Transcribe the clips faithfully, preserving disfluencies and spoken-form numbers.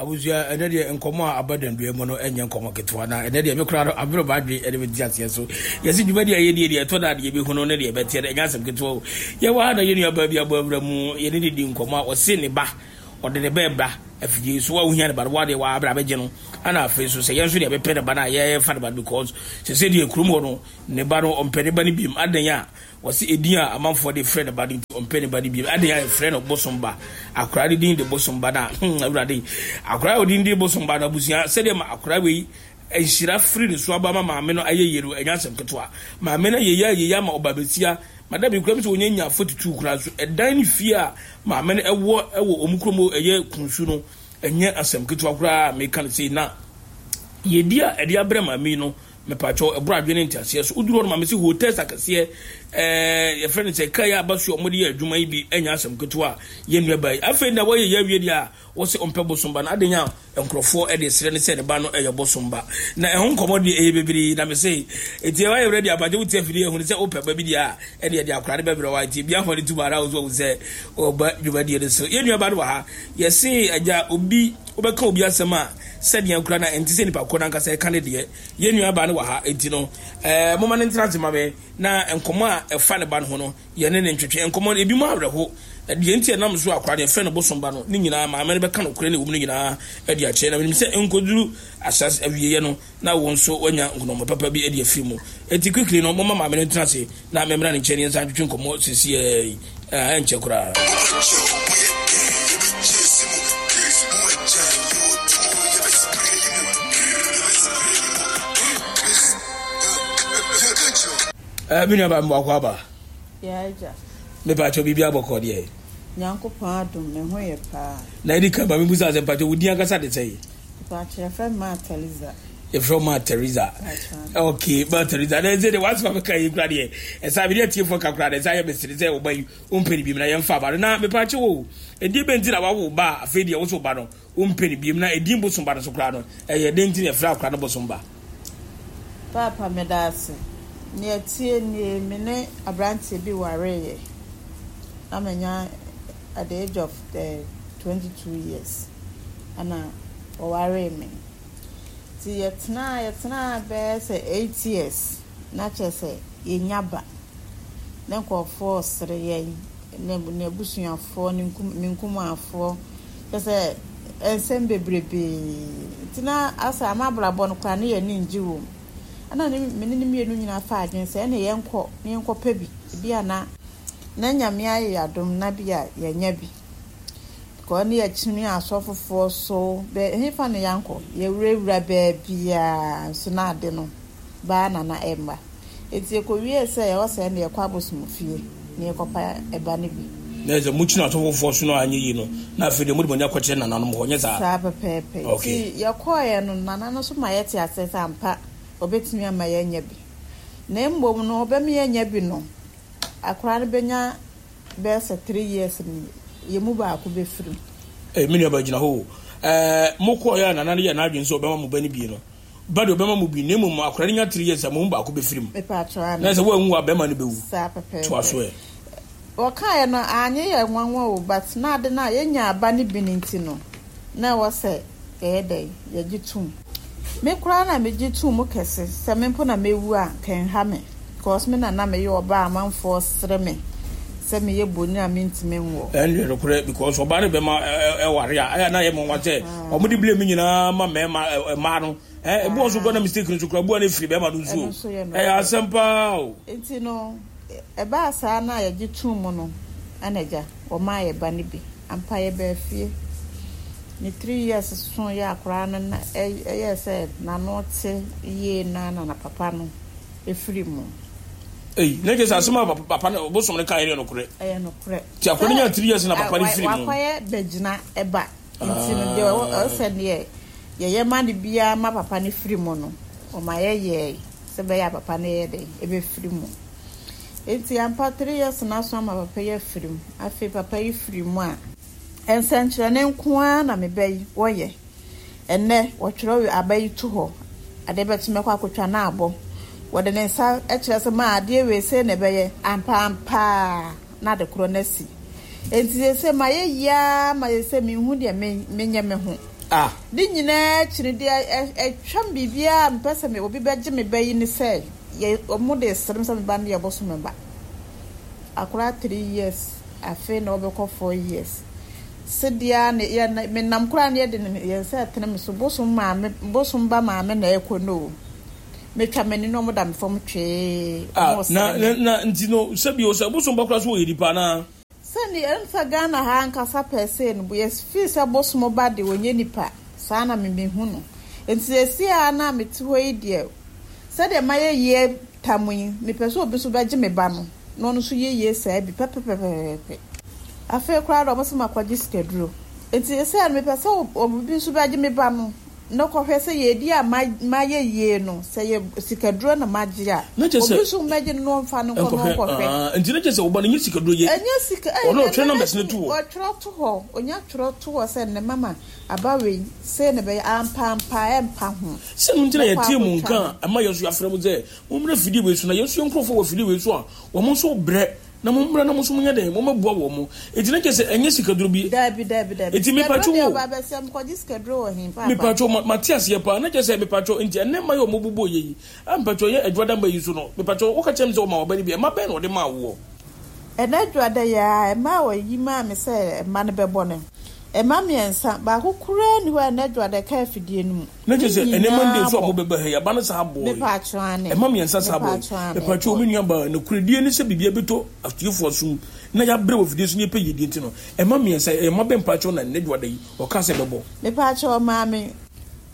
Abusua, ɛnɛ deɛ nkɔmmɔ a aba dandua mu no ɛnyɛ nkɔmmɔ ketewa, na ɛnɛ deɛ me koraa no aberɛ m'adwene ɛde me te aseɛ so. Yɛse dwumadi a yɛdie deɛ ɛtɔ da a deɛ yɛbɛhu no ne deɛ ɛbɛteɛ no ɛnyɛ asɛm ketewa o. Yɛwɔ ha na yɛn nuabaa bi abɔ awura mu, yɛne no di nkɔmmɔ a ɔse ne ba, ɔde ne ba ɛba afidie so, wo a wohia ne ba no wo adeɛ waa bra bɛgye no, ɛna afei nso sɛ yɛn nso deɛ bɛpɛ ne ba no a yɛfa ne ba no because sɛ sɛ deɛ kurom hɔ no ne ba no ɔmpɛ ne ba no biem adɛn a Wɔse edin a amanfoɔ de frɛ ne ba no nti ɔmpɛ ne ba no bio. Adɛn a yɛfrɛ no bosom ba? Akwadaa no din de bosom ba no a, hmm, Awurade. Akwadaa a odin de bosom ba no, abusua, sɛdeɛ ma akwadaa wei nhyira firi ne so aba ma maame no ayɛ yie no, ɛnyɛ asɛm ketewa. Maame no ayɛ yie ayɛ yie ama ɔba bɛsia. Madam yi koraa mi sɛ wɔnya nya forty two koraa nso, ɛdan ne fie a maame no ɛwɔ ɛwɔ wɔn kurom ɛyɛ Kunsu no, ɛnyɛ asɛm ketewa koraa a meka no sei. Na yɛdi a ɛde abrɛ maame yi no, Mepakyɛw, ɛboro adwene ne nteaseɛ so. Woduru hɔ no ma mese hotels akɛseɛ, ɛɛ yɛfrɛ no sɛ kaa yi a aba so a wɔde yɛ adwuma yi bi nyɛ asɛm ketewa a yɛn nua baa yi. Afei na wɔyɛ yɛ awie deɛ a wɔse ɔmpɛ bosom ba no adɛn a nkurɔfoɔ de srɛ no sɛ ne ba no yɛ bosom ba. Na ɛho nkɔmmɔ deɛ ɛyɛ bebree na mese enti ɛwɔ ayɛ ready abagye wote afidie ahunu sɛ wopɛ ba bi deɛ a ɛne ɛde akora no bɛbrɛ wa nti bia hɔ ne tum ara wo so wahu sɛ ɔba dwumadie no so. Yɛn nua ba no wɔ ha yɛse agya obi wobɛka obi asɛm a sɛdeɛ koraa na ɛnte sɛ nipa korɔ no ankasa ɛka ne deɛ. Yɛn nuabaa no wɔ ha, enti no, ɛɛ, momma no ntena ase mma me, na nkɔmmɔ a ɛfa ne ba no ho no, yɛne no ntwetwe. Nkɔmmɔ no, ebinom awerɛho. Deɛ nti a ɛnam so a akwadaa no, yɛfrɛ no bosom ba no, ne nyinaa, maame no bɛka nokorɛ no a ɛwɔ mu no nyinaa de akyerɛ. Na menim sɛ ɛnkɔduru ahyɛase awieeɛ no, na wo nso woanya nkonɔmmɔ papa bi de afiri mu. Enti quickly no, momma maame no ntena ase na memmra ne nkyɛn na yɛnsan ntwetwe nkɔmmɔ seesei yi. Ɛɛ, ɛnkyɛ koraa. Ɛɛ, me nuabaa mmoakɔ aba. Mepa kyɛw biribi abɔkɔ deɛ. Nyankopɔn adom me ho yɛ paa. Na edi kan ma me busa sɛ mpakyɛw wo din ankasa de sɛn? Mpakyɛw yɛfrɛ me Maa Theresa. Yɛfrɛ wo Maa Theresa. Okay, Maa Theresa. Na ɛsɛ deɛ w'asɛm a meka yi kura deɛ ɛsa mede atiefoɔ ka kura deɛ ɛsa yɛ mesere sɛ ɔba yi wompɛ ne biem na yɛmfa aba no na mepakyɛw o ɛdeɛ bɛn nti na wawo ba a afei deɛ wo so ba no wompɛ ne biem na ɛdin bosom ba no so koraa no ɛyɛ dɛn nti na yɛfrɛ akora no bosom ba? Paapa meda ase. Nea ɛteɛ nie, me ne aberanteɛ bi wareeɛ na manya at the age of twenty two years ɛna ɔwaree me. Nti yɛtenaa yɛtenaa bɛyɛ sɛ eight years na kyerɛ sɛ yɛnnya ba. Na nkurɔfoɔ resere yɛn, ne n'abusuafoɔ, ne nkum me nkumafoɔ, kyerɛ sɛ nsɛm bebrebee. Nti na asɛ ama abrabɔ no koraa na yɛn ani ngye wɔ mu. Ɛna ne me ne ne mmienu nyinaa faa adwene sɛ ɛne yɛnkɔ na yɛnkɔpɛ bi. Ebi a na na Nyame ayɛ yɛn adom na bi a yɛanya bi. Kɔ ne yɛkyini asɔfofoɔ so bɛ hefa na yɛankɔ? Yɛwurawura baabiara nso na ade no baa na na ɛmma. Enti yɛkɔwiee sɛ ɛwɔ sɛ ɛnde yɛkɔ abosomfie na yɛkɔpa ɛba no bi. Na ɛsɛ mokyini asɔfofoɔ so no anyɛ yie no, na afei deɛ mode mo ani akɔkyerɛ nananom hɔ, nyɛ saa? Saa pɛpɛɛpɛ. Okay. Nti yɛkɔeɛ no, nana no nso ma yɛte aseɛ sɛ ampa ɔbɛtumi ama yɛanya bi. Na mmom no ɔbɛma yɛanya bi no, akwadaa no bɛnya bɛyɛ sɛ three years no yɛn mu baako bɛfiri mu. Ei, me nuabaa gyina hɔ o. Ɛɛ, mokɔeɛ a nana no yɛɛ n'adwene sɛ ɔbɛma mo ba no bi no, ba deɛ ɔbɛma mo bi, na mmom akwadaa no nya three years a, mo mu baako bɛfiri mu. Mepatwɔ aane. Na sɛ woanwu a, bɛrima no bɛwu. Saa pɛpɛɛpɛ. Toa so ɛ. Wɔkaeɛ no, anyɛ yɛn nwanwa o, but na ade no a yɛnyaa ba no bi no nti no, na ɛwɔ sɛ yɛyɛ dɛn? Yɛgye tom. Me koraa na megye too mu kɛse, sɛ me mpo na mɛwu a, anka ɛnha me, because me na na meyɛ ɔbaa a amanfoɔ sere me sɛ meyɛ boni a mentumi nwo. Ɛno deɛ nokorɛ because ɔbaa ne bɛma ɛware a ɛyɛ na yɛ mɔnwa sɛ ɔmo de blame nyinaa ma mɛɛma mmaa no ɛ ebi wɔn so kura na mistake no so kura bu a na efiri bɛɛma no nso ɛyɛ asɛm paa o. Nti no ɛbaa saa na yɛgye too mu no ɛna agya wɔmaa yɛ ba no bi ampa yɛbaa fie ne three years so yɛ akoraa no na ɛyɛɛ sɛ n'ano te yie na na na papa no efiri mu. Ei, na kyerɛ sɛ asɛm a papa no bosom no kaeɛ no yɛ nokorɛ. Ɛyɛ nokorɛ. Nti akwadaa no nyaa three years na papa no firi mu. Wakɔyɛ bɛgyina ɛba. Nti no deɛ ɛwɔ sɛ deɛ yɛyɛ ma no biara ma papa no firi mu no, ɔma yɛyɛe sɛ ɛbɛyɛ a papa no yɛ dɛn ɛbɛfiri mu. Nti ampa three years no aso ama papa yi afiri mu. Afei papa yi firi mu a, nsɛnkyerɛnne nko ara na me ba yi wɔyɛ. Ɛnnɛ, wɔtwerɛ aba yi to hɔ, adeɛ bɛkye mɛkɔ akɔtwa na abɔ. Wɔde ne nsa kyerɛ sɛ, ma adeɛ wei sei na ɛbɛyɛ, ampa ampa ara na ade korɔ no asi. Enti seesei mayɛ yie ara ma seesei menhu deɛ menyɛ me ho. Ah. Ne nyinaa akyi no, deɛ ɛtwam biribiara a mepɛ sɛ obi bɛgye me ba yi ne sɛ, yɛ ɔmo de sere me sɛ me ba no yɛ bosome ba. Akwadaa three years, afei na ɔbɛkɔ four years. Sedeɛ ne yɛ menam koraa ne yɛde ne yɛn nsa ɛtene me so bosom maame bosom ba maame na ɛkɔ no o. Metwa m'ani na ɔmo da me fam twee. Ah, na na na nti no sɛbi o sɛ bosom ba koraa so wɔyɛ nipa anaa? Sɛni ɛmfa Ghana ha ankasa pɛ sɛ no yɛ fii sɛ bosom ba de wɔnyɛ nipa saa na memehu no. Nti esi a na mete hɔ yi deɛ sɛdeɛ mayɛ yie tam yi mepɛ sɛ obi nso bɛgye me ba no na ɔno nso yɛ yie saa bi pɛpɛpɛpɛpɛ. Afei koraa de ɔmo sɛ makɔgye sikaduro. Nti esi a mepɛ sɛ obi nso bɛgye me ba no na kɔhwɛ sɛ yɛdi a mayɛ yie no sɛ yɛ sikaduro na magye a Na kyerɛ sɛ obi nso mmɛgye no na ɔmfa no nkɔ na ɔnkɔhwɛ. Nti na kyerɛ sɛ ɔba no nyɛ sikaduro yɛ. Ɛnyɛ sika Ɔno ɔtwerɛ numbers no to hɔ. Ɔtwerɛ to hɔ. Onya twerɛ to hɔ sɛ ne mama aba wei sei na bɛyɛ ampampa ɛmpa ho. Sɛ no nti na Mɛkɔ yɛtie mu akɔtwa nka a ɛma yɛn nso yɛafrɛ mo sɛ mommrɛ fidie wei so na yɛn nso yɛn nkurɔfoɔ wɔ fidie wei so a wɔn nso brɛ na mommrɛ na mo nso monyɛ dɛn mommɛboa wɔn mo. Enti na kyerɛ sɛ ɛnyɛ sikaduro bi. Dabi dabi dabi. Enti mepatwo Sikaduro deɛ wo. ɔba abɛsɛ mekɔgye sikaduro wɔ he paapa. Mepatwo ma mate aseɛ paa na kyerɛ sɛ mepatwo nti ɛnɛ mma yɛ ɔmo bobɔ yɛ yi a mepatwo yɛ adwada mma yi so no mepatwo woka kyerɛ me sɛ ɔma ɔba no bi ɛma bɛn na ɔde maa woɔ. Ɛnɛ dwada yi a ɛma a wɔyi maa me sɛ ɛma no bɛbɔ no. Ɛma mmiɛnsa baako koraa ni hɔ a ɛnɛ dwada ka afidie no mu. Na kyerɛ sɛ Ne ɛnɛ Monday nyinaa nso a bɔ. mobɛba ha yi aba no saa bɔɔ yi. Mepatwo ane. Ɛma mmiɛnsa saa bɔɔ yi. Mepatwo ane. Mepatwo me nua baa nokoredie ne sɛ biribi abɛtɔ atiefoɔ som na yɛabrɛ wɔ fidie so ne yɛpɛ yiedie nti no ɛma mmiɛnsa ɛma bɛ mpatwo na ɛnɛ dwada yi ɔka sɛ bɛbɔ. Mepatwo ɔmaa me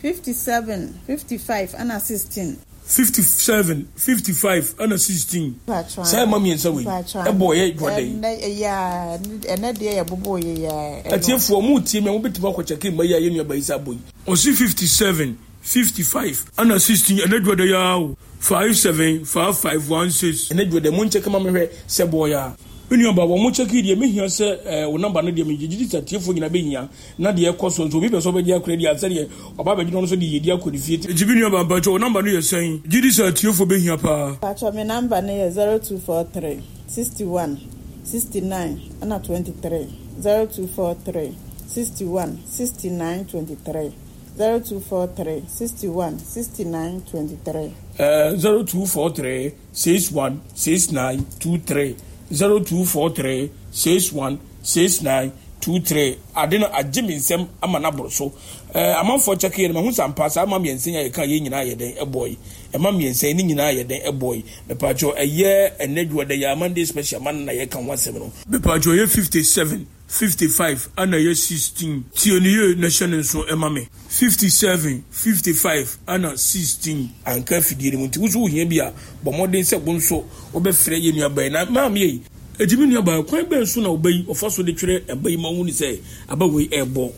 fifty seven, fifty five ɛna sixteen. fifty seven, fifty five ɛna sixteen. Mepatwo Saa ɛma mmiɛnsa wei Mepatwo ane. ɛbɔ yɛ dwada yi. Ɛnɛ ɛyɛ a ɛnɛ deɛ yɛbobɔ yɛ yɛ a. Atiefoɔ mu tie mi a mobɛtumi akɔ kyɛke mma yi a yɛ nua ba yi sɛ abɔ yi. Ɔsi fifty seven, fifty five ɛna sixteen ɛnɛ dwada yi ara o. five seven five five one six. Ɛnɛ dwada mu nkyɛke ma mehwɛ sɛ bɔɔ yɛ a. Me nua ba wɔn mo kyɛke deɛ mehia sɛ ɛɛ wo namba no deɛ megye gye sɛ atiefoɔ nyinaa bɛhia na deɛ ɛkɔ so nso obi pɛ sɛ ɔbɛgye akora di ansa deɛ ɔba abɛgye no nso de yɛdi akɔ ne fie. Nti me nua ba mpakyɛ wo namba no yɛ sɛn? Gye di sɛ atiefoɔ bɛhia paa. Mpakyɛ me namba no yɛ zero two four three sixty one sixty nine ɛna twenty three zero two four three sixty one sixty nine twenty three zero two four three sixty one sixty nine twenty three. Uh, zero two four three six one six nine two three zero two four three six one six nine two three. Ade no agye me nsɛm ama no aboro so. Uh, amanfoɔ kyɛke yɛ no mahu sɛ ampa saa ma mmiɛnsa yi a yɛka yɛ nyinaa yɛ dɛn ɛbɔ yi. Ɛma mmiɛnsa yi ne nyinaa yɛ dɛn ɛbɔ yi. Mepatwɛ ɛyɛ ɛnɛ dwuada yɛ Monday special ma no na yɛka ho asɛm no. Mepatwɛ ɛyɛ fifty seven, fifty five ɛna ɛyɛ sixteen. Tie ne yie na hyɛ ne nso ɛma me. fifty seven, fifty five ɛna sixteen. Anka afidie no mu nti woso wohia bi a bɔ mmɔden sɛ wo nso wobɛfrɛ yɛ nua bɛn na maame yi. Eti me nua baa kwan bɛn so na ɔba yi ɔfa so de twerɛ ɛba yi ma wo ni sɛ aba wei ɛɛbɔ.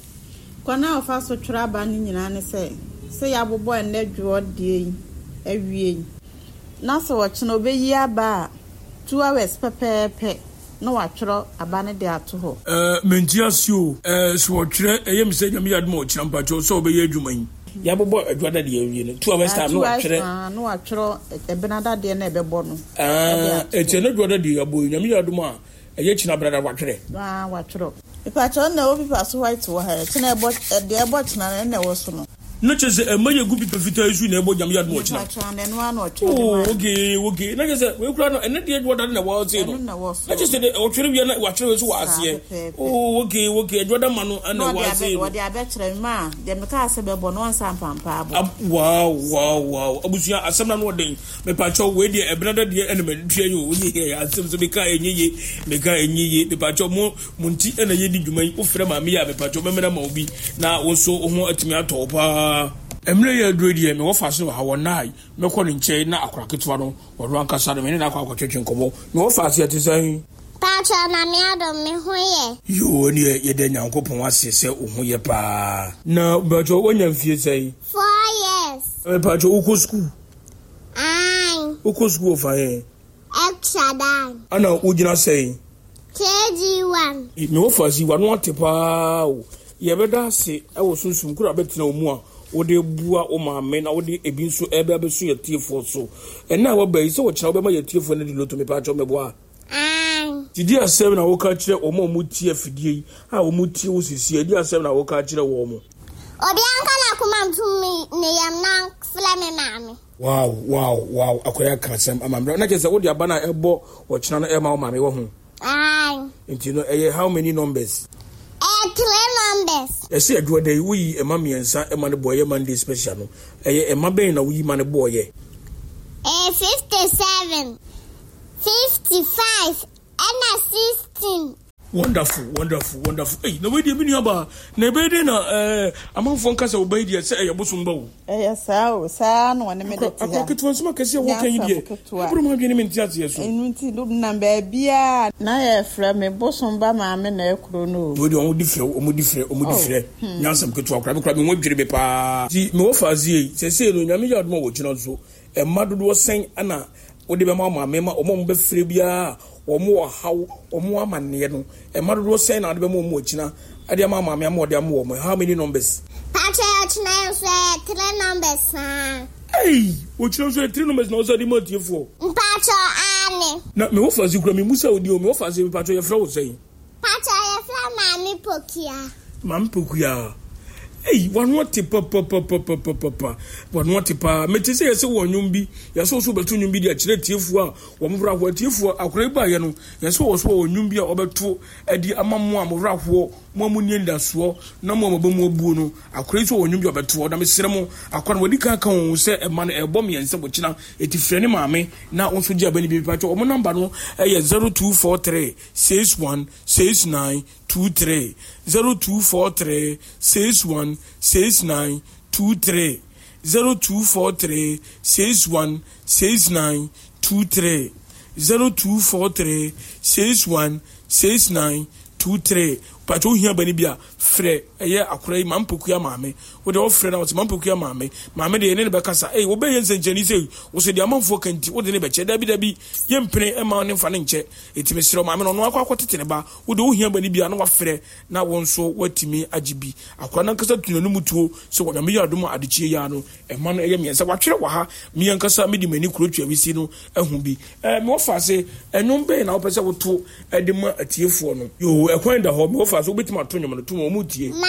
Kwan a ɔfa so twerɛ aba no nyinaa ne sɛ sɛ yɛabobɔ ɛnɛ dwoɔ deɛ yi awie yi na sɛ wɔkyena obɛyi aba a two hours pɛpɛɛpɛ na watwerɛ aba no de ato hɔ. Ɛɛ menti ase o. Ɛɛ sɛ wɔtwerɛ ɛyɛ mi sɛ Nyame yɛ adom a ɔkyena mpakyɛw sɛ ɔbɛyɛ adwuma yi. Yɛabobɔ adwada deɛ awie no two hours time na watwerɛ. Na watwerɛ ɛbenada deɛ na ɛbɛbɔ no. Ɛɛ eti ɛnɛ dwoada deɛ yɛabɔ yi Nyame yɛ adom a ɛyɛ kyena brada watwerɛ. Waa watwerɛ. Mepakyɛw na ɛwɔ pipa so white wɔ ha kyena ɛbɔ deɛ ɛbɔ kyena no ɛna ɛwɔ so no. Na kyerɛ sɛ ɛma yɛ gu pipa fitaa yi so na ɛbɔ Nyame yɛ adom a ɔkyena. Mepakyɛw na ɛno ara na ɔtwerɛ de Oh ma. okay okay na kyerɛ sɛ wei kura no ɛnɛ deɛ dwoada na ɛwɔ ase no. Ɛno na ɛwɔ so. Na kyerɛ sɛ de ɔtwerɛ wia na watwerɛ wei so wɔ Saa aseɛ. pɛpɛɛpɛ. Oh okay okay adwoada ma no ɛna Na ɛwɔ ɔde ase abɛ no. ɔde abɛkyerɛ me ma deɛ mekaa sɛ bɛbɔ no ɔnsa mpampa abɔ. Ab wow wow wow abusua asɛm na no ɔden mepakyɛw wei deɛ ɛbenada deɛ ɛna matua yi o wonye yɛ asɛm so meka ɛnyɛ ye meka ɛnyɛ ye mepakyɛw mo mo nti ɛna yɛdi dwuma yi wofrɛ maame yi a mepakyɛw mɛmɛna ma wo bi na wo nso wo ho atumi atɔ wo paa. Mmerɛ yɛ aduro deɛ mewɔ fa so wɔ ha wɔ nnae mɛkɔ ne nkyɛn na akora ketewa no ɔno ankasa no mene no akɔ akɔtwetwe nkɔmmɔ na wɔfa ase ɛte sɛn. Pakyɛ na me adom me ho yɛ. Yoo neɛ yɛda Nyankopɔn ase sɛ wo ho yɛ paa. Na mepakyɛw woanya mfie sɛn? Four years. Mepakyɛw wokɔ sukuu? Ae. Wokɔ sukuu wɔ fa he? Extra dan. Ana wogyina sɛn? K G one. Mewɔ fa ase wano ate paa o. Yɛbɛda ase ɛwɔ sunsum koro a bɛtena wo mu a wode bua wo maame na wode ebi nso ɛbɛ abɛso yɛ tiefoɔ so. Ɛna a waba yi sɛ wɔkyena wobɛma yɛ tiefoɔ no de loto mepakyɛw mɛboa. Ae. Didi asɛm na woka kyerɛ wɔn a wɔtie afidie yi a wɔtie wo sisi adi asɛm na woka kyerɛ wɔn mo. Obi anka n'akoma nto me ne yam na frɛ me maame. Wow, wow, wow, akɔyɛ ka asɛm ama mmerɛ na kyerɛ sɛ wode aba no a ɛbɔ ɔkyena no ɛma wo maame wɔ ho. Ae. Nti no ɛyɛ how many numbers? Ɛyɛ three numbers. Ɛsɛ adwuma da yi woyi ɛma mmiɛnsa ɛma no bɔɔyɛ Monday special no, ɛyɛ ɛma bɛn na woyi ma no bɔɔyɛ? Ɛyɛ fifty seven, fifty five ɛna sixteen. Wonderful, wonderful, wonderful. Ei, na wei deɛ me nua baa, na ɛbɛyɛ dɛn na ɛɛ amanfoɔ nka sɛ ɔba yi deɛ sɛ ɛyɛ bosom ba o. Ɛyɛ saa o, saa na ɔne me de te ha. Akwa ketewa nsɛm akɛseɛ a wɔka yi deɛ, ɛboro m'adwene ne me nteaseɛ so. Ɛno nti nam baabiara na yɛfrɛ me bosom ba maame na ɛkuro no o. Wei deɛ wɔn di frɛ, wɔn di frɛ, wɔn di frɛ. Nyɛ asɛm ketewa koraa, me koraa me ho dwiri me paa. Nti mewɔ faase yi, seesei no Nyame yɛ adom a wɔgyina nso, mma dodoɔ sɛn na wode bɛma wo maame ma wɔn a wɔbɛfrɛ biara a wɔn wɔ haw, wɔn wɔ amanneɛ no, mma dodoɔ sɛn na wode bɛma wɔn akyina de ama wo maame ama wɔde ama wɔn? How many numbers? Pakyɛ ɔkyena nso ɛyɛ three numbers saa. Ei! Ɔkyena nso ɛyɛ three numbers na wɔsan de ma atiefoɔ? Mpakyɛ aane. Na me wɔfaase kura memusa wo din o, me wɔfaase mpakyɛ yɛfrɛ wo sɛn? Pakyɛ yɛfrɛ Maame Pokuaa. Maame Pokuaa. Ei, w'ano ate papapapapapa. W'ano ate paa. Mete sɛ yɛsɛ wɔ nnwom bi. Yɛsɛ wo so wobɛto nnwom bi de akyerɛ atiefoɔ a wɔn werɛ ahoɔ. Atiefoɔ, akwadaa yi baeɛ no, yɛsɛ wɔ so wɔ nnwom bi a ɔbɛto de ama mo a mo werɛ ahoɔ, mo a monni anidasoɔ, na mo a mo aba mu abuo no. Akwadaa yi nso wɔ nnwom bi a ɔbɛtoɔ. Na mesrɛ mo, akwadaa no wadi kan aka wɔn sɛ ɛma no ɛrebɔ mmiɛnsa wɔkyena. Enti frɛ ne maame na wo nso gye aba no bi. Mepakyɛw, wɔn namba no yɛ zero two four three six one six nine two three zero two four three six one six nine two three zero two four three six one six nine two three zero two four three six one six nine two three. Pàtó ohia bani bi a frɛ ɛyɛ akora yi mampokua maame wo deɛ wɔfrɛ na wɔsɛ mampokua maame maame deɛ ɛne ne bɛkasa ei wobɛyɛ nsɛnkyɛnni sɛ wo sɛ deɛ amanfoɔ ka nti wode ne bɛkyɛ dabi dabi yɛmpene ɛma ne mfa ne nkyɛ ɛti mesrɛ maame no ɔno akɔ akɔtete ne ba. Wo deɛ wohia bani bi a na wafrɛ na wo nso woatumi agye bi. Akora no ankasa tu n'anom tuo sɛ Onyame yɛ adom a adekyeɛ yi ara no ɛma no ɛyɛ mmiɛnsa. Watwerɛ wɔ ha, me ankasa mede m'ani kuro Tweawisi no ahu bi. Ɛɛ me wɔfaase, ɛnwom bɛn na wopɛ sɛ woto de ma atiefoɔ no? Yoo, ɛkwan da hɔ, me wɔfaase wobɛtumi ato nwom no, to ma wɔn tie.